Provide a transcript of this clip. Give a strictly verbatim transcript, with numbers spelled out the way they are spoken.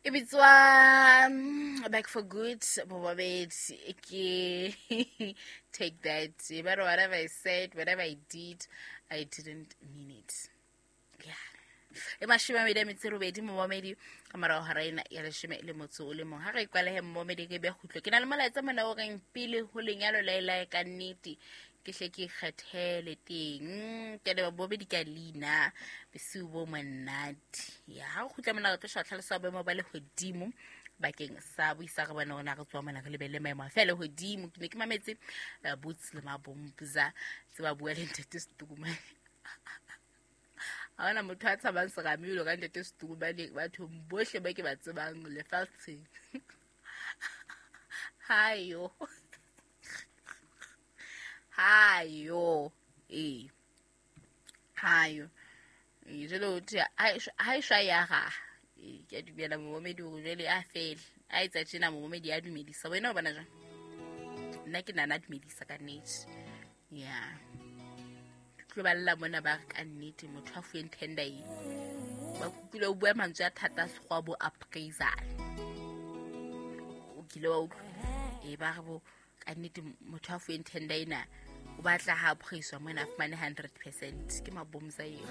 E bitswa mm, Back for Good, momamedi. Ke Take That. But whatever I said, whatever I did, I didn't mean it. Yeah. E mashome a mabedi a metso e robedi, momamedi, ka morago ga ena ya leshome le motso o le mong. Ha re ikwalehe, momamedi, ke be kgutlo. Ke na le molaetsa mona o reng pele ho lenyalo laelae ka nnete ke hle ke ikgethele teng. Ke leba bobedi ka leina, bosiu bo monate. Ya ha re kgutla mona, re tlo sheba tlhaloso ya boemo ba lehodimo bakeng sa buisa re bone rona re tswa mona re lebelle maemo a fe a lehodimo. Ke ne ke mametse eh, Boots le Mabomza tse ba bua le Ntate Setukumane. Ha hona motho a tshabang serame jwalo ka Ntate Setukumane bathong bohle ba ke ba tsebang lefatsheng. Hayo, hayo, ee, hayo. Ee, jwale ho thwe ha e shwa- ha e shwa ya raha. Ee, ke a dumela, momamedi, hore jwale a fele a etsa tjena. Momamedi a dumedisa wena, o bona jwang? Nna ke nana a dumedisa ka nnete. Ya tlo balla mona, ba re ka nnete motho a fuweng tender e ba kutlwile o bua mantswe a thata a sekgowa, bo appraisal. O kile wa utlwa? Ee, ba re bo ka nnete motho a fuweng tender ena o batla ha appraiswa mona a fumane hundred percent. Ke Mabomza eo.